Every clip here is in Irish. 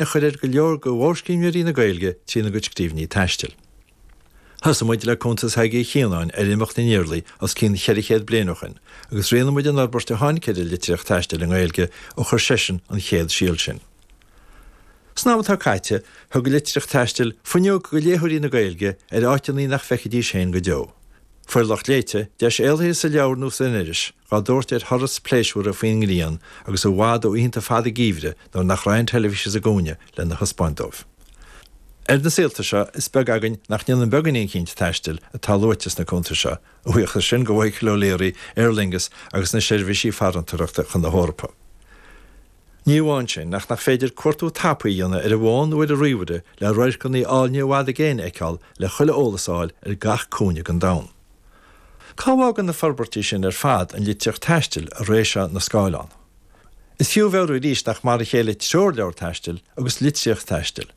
a chur ar go leor de mhórscríbhneoirí na Gaeilge trína gcuid scríbhinní taistil. Thosaigh muid le cuntas Thaidhg Uí Chianáin ar imeacht na nIarlaí os cionn 400 bliain ó shin agus rianaigh muid an fhorbairt a tháinig ar an litríocht taistil i nGaeilge ó chuir seisean an chéad síol sin. San am atá caite, thug an litríocht taistil fuinneog do léitheoirí na Gaeilge ar áiteanna nach bhfeicfidís féin go deo. Fuair lucht léite deis éalaithe sa leabhar nó san iris dhá dtabhairt ar thuras pléisiúrtha faoin ngrian agus i bhfad ó oícheanta fada geimhridh nuair nach raibh an teilifís sa gcúinne lena thaispeáint dóibh. Ar na saolta seo, is beag againn nach ndéanann beagáinín eicínt taistil atá luaite sna cuntais seo, a bhuíochas sin go Mhichael O'Leary, Aer Lingus agus na seirbhísí farantóireachta chun na hEorpa. Ní amháin sin, ach nach féidir cuartú tapaidh a dhéanamh ar an bhfón nó ar an ríomhaire le radharcanna áilne i bhfad i gcéin a fheiceáil le chuile eolas a fháil ar gach cúinne den domhan. Cá bhfágann na forbairtí sin ar fad an litríocht taistil i ré seo na scáileán? Is fiú a mheabhrú arís nach mar a chéile treoirleabhar taistil agus litríocht taistil.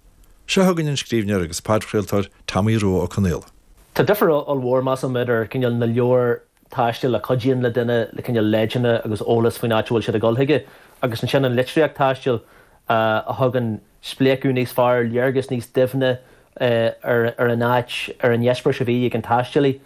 Seo chugainn an scríbhneoir agus podchraoltóir Tomaí Rua Ó Conaola. Tá difear ollmhór, measaim, idir cineál na leabhair taistil a chuidíonn le duine le cineál leideanna agus eolas faoin áit a bhfuil siad ag dul chuige agus ansin an litríocht taistil a thugann spléachadh níos fearr, léargas níos doimhne ar an áit, ar an eispéireas a bhí ag an taistealaí.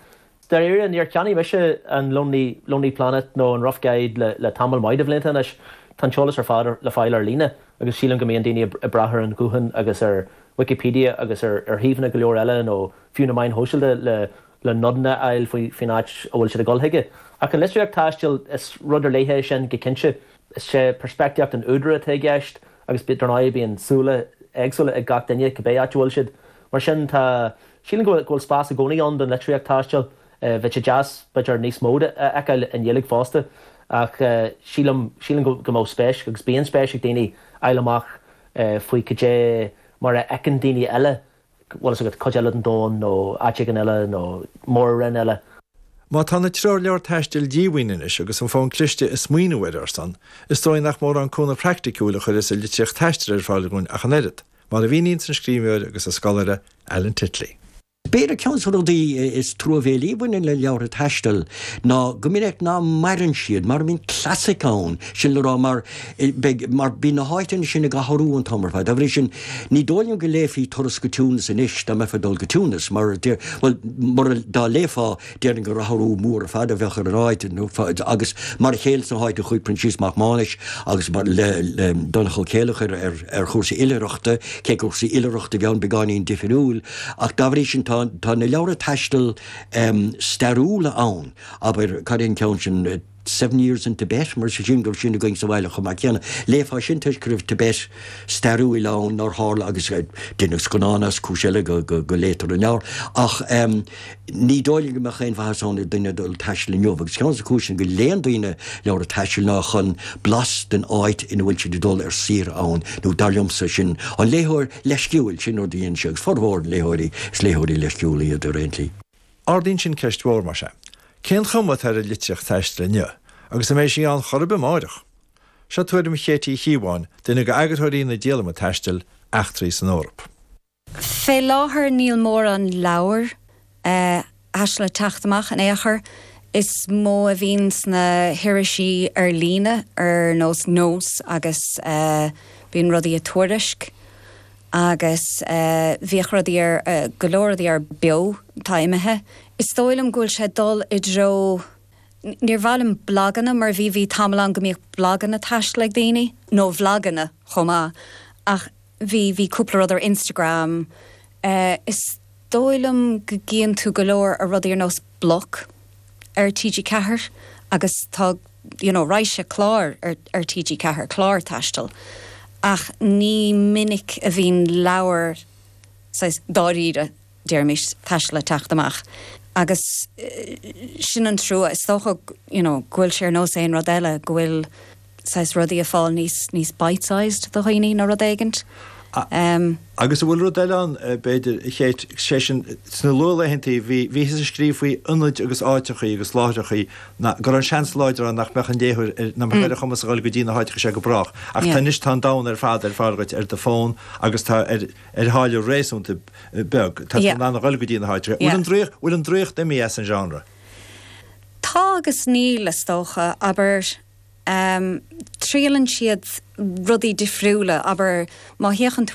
Dáiríre, níor cheannaigh mise an Lonely Lonely Planet nó an Rough Guide le le tamall maith de bhlianta anois. Tá an t-eolas ar fad le fáil ar líne agus sílim go mbíonn daoine ag brath ar an ghuthán agus ar Wikipedia agus ar ar shuíomhanna go leor eile nó fiú na meáin shóisialta le le nodanna a fháil faoi faoin áit a bhfuil siad ag dul chuige. Ach an litríocht taistil, is rud ar leith é sin go cinnte. Is é peirspictíocht an údair atá i gceist agus dar ndóigh bíonn súile éagsúla ag gach duine cibé áit a bhfuil siad. Mar sin tá, sílim go bhfuil spás i gcónaí ann don litríocht taistil. Bheadh sé deas b'fhéidir níos mó de a fheiceáil i nGaeilge fosta ach sílim, sílim go mbeadh spéis agus bíonn spéis ag daoine fháil amach faoi cad é mar a fheiceann daoine eile bhfuil fhios agat, cuid eile den domhan nó áit éigin eile nó mór-roinn eile. Má tá na treoirleabhair taistil díomhaoin anois agus an fón cliste ag smaoineamh ar ár son, is dóigh nach mórán cúnamh praiticiúil a chuireas an litríocht taistil ar fáil dhúinn ach an oiread, mar a mhíníonns an scríbhneoir agus an scoláire Alan Titley. B'fhéidir ceann de na rudaí is truamhéilí a bhaineann le leabhartha taistil ná go minic ná maireann siad, mara mbíonn clasaic ann, sin le rá mar beidh, mar bíonn na háiteanna sin ag athrú an t-am ar fad. Dá bhrí sin, ní dóigh liom go léifí Turas go Tunis anois dá mbeifeá ag dul go Tunis, mar deir, bhuel, mura, dá léifeá, déarfainn gur athrú mór ar fad a bheadh ar an áit, agus mar a chéile sna háiteanna a chuaigh Proinsias Mac Mánais agus le, le Donncha Ó Céileachair ar, ar chúrsaí oilithreachta, cé gur cúrsaí oilithreachta a bhí ann, beagáinín difriúil, Ach dá bhrí sin tá tá na leabhra taistil stairiúla ann, abair, cad é an ceann sin, Seven Years in Tibet, mar sin go raibh sin againn sa bhaile chomh maith céanna. Léifeá sin toisc go raibh Tibet stairiúil ann nár tharla agus deineadh scannán as, cúis eile go go léitear an leabhar. Ach ní dóigh liom go mbeadh aon mhaitheas ann ag duine dul ag taisteal inniu agus ceann de na cúiseanna go léann daoine leabhra taistil ná chun blas den áit ina bhfuil siad ag dul ar saoire ann, nó dar liomsa, sin an léitheoir leisciúil, sin rud a dhéanann sé, agus formhór na léitheoirí, is léitheoirí leisciúla iad ar aon tslí. Ardaíonn sin ceist mhór, mar sea. Cén chuma atá ar an litríocht taistil inniu, agus an mbeidh sí ann chor ar bith amáireach? Seo tuairim Chéit Uí Chíobháin, duine d'eagarthóirí na díolama taistil, Eachtraí san Eoraip. Fé láthair níl mórán leabhar taistil ag teacht amach in aon chor. Is mó a bhíonn sna hirisí ar líne ar nós Nós agus bíonn rudaí i Tuairisc agus bhíodh rudaí ar, go leor rudaí ar Beo, atá imithe. Is dóigh liom go bhfuil sé ag dul i dtreo, níor mhaith liom blaganna mar bhí, bhí tamall ann go mbíodh blaganna taistil ag daoine, nó vloganna chomh maith, ach bhí, bhí cúpla rud ar Instagram. Is dóigh liom go gcíonn tú go leor ar rudaí ar nós Bloc ar TG4 agus tá you know raidhse clár ar ar TG4, cláir taistil, ach ní minic a bhíonn leabhar saghas dáiríre, déarfaimis, taistil ag teacht amach agus sin an trua. Is dócha you know go bhfuil sé ar nós aon rud eile, go bhfuil saghas rudaí ag fáil níos níos bite-sized do dhaoine nó rud éigint. Agus an bhfuil rud eile ann, b'fhéidir, a Chéit, sé sin, sna luathlaethantaí bhí, bhíothas ag scríobh faoi ionaid agus áiteachaí agus láithreachaí ná, go raibh an seans láidir ann nach mbeadh an léitheoir ar, nach mbeadh ar a chumas a dhul go dtí na háiteacha seo go brách. Ach tá anois, tá an domhan ar fad ar fáil dhuit ar do fón agus tá ar, ar tháille réasúnta beag, tá tú in ann a dhul go dtí na háiteacha. Bhfuil an draíocht, bhfuil an draíocht imithe as an genre? Tá agus níl, is dócha. Abair. Triaileann siad rudaí difriúla, abair má théann tú.